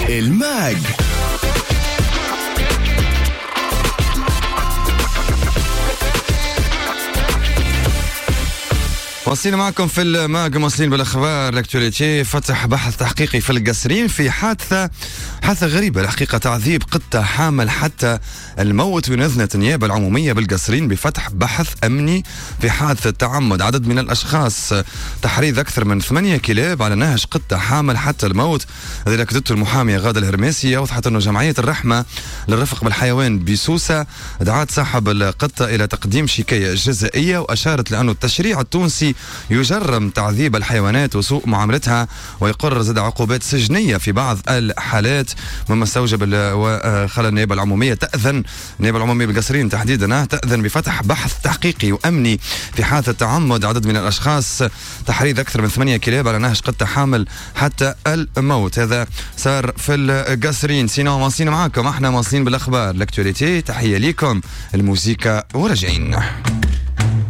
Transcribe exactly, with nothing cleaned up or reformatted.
الماج. واصلين معكم في الماج، مواصلين بالاخبار l'actualité. فتح بحث تحقيقي في القصرين في حادثه حادثه غريبة الحقيقة، تعذيب قطة حامل حتى الموت. ونزلت النيابة العمومية بالقصرين بفتح بحث امني في حادثه تعمد عدد من الاشخاص تحريض اكثر من ثمانية كلاب على نهج قطة حامل حتى الموت. هذا اكدته المحاميه غاده الهرماسي. اوضحت انه جمعية الرحمة للرفق بالحيوان بسوسه دعت صاحب القطة الى تقديم شكاية جزائيه، واشارت لانه التشريع التونسي يجرم تعذيب الحيوانات وسوء معاملتها، ويقر زاد عقوبات سجنية في بعض الحالات، مما استوجب وخلى النيابة العمومية تأذن، النيابة العمومية بالقصرين تحديدا تأذن بفتح بحث تحقيقي وأمني في حادثة تعمد عدد من الأشخاص تحريض أكثر من ثمانية كلاب على نهج قطة حامل حتى الموت. هذا صار في القصرين. sinon مواصلين معاكم، احنا مواصلين بالأخبار l'actualité. تحية لكم، الموسيقى وراجعين.